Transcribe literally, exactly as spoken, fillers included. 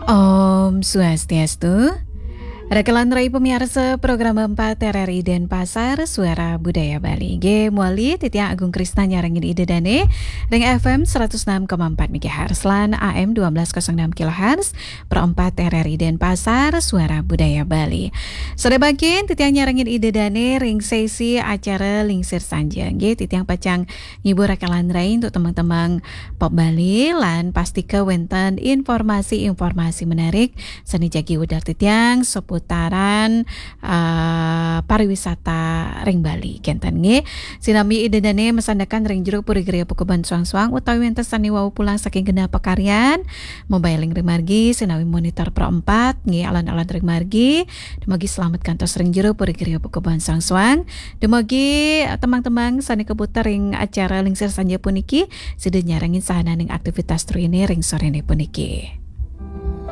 Om Swastiastu. Raka lan rai pamiarsa program empat R R I Denpasar, Suara Budaya Bali. Nggih, mawali titiang Agung Krisna nyarengin Ida Dane ring F M seratus enam koma empat megahertz lan A M dua belas kosong enam kilohertz, Pro empat R R I Denpasar, Suara Budaya Bali. Sore mangkin titiang nyarengin Ida Dane ring sesi acara Lingsir Sanja. Nggih, titiang pacang ngibur raka lan rai antuk tembang-tembang pop Bali, lan pastika wenten informasi-informasi menarik sane jagi udar titiang seputaran, eh, pariwisata ring Bali. Kenten nggih. Sinambi Ida Dane masandekan ring jero puri griya Pakuban Suang-Suang utawi wenten sane wau pulang saking genah pakaryan, mabaling ring margi, sinambi monitor Pro empat nggih, alon-alon ring margi, dumugi slamet kantos ring jero puri griya Pakuban Suang-Suang. Dumugi, eh, tembang-tembang sane kaputer ring acara Lingsir Sanja puniki sida nyarengin sahananing aktivitas trihine ring sorene puniki.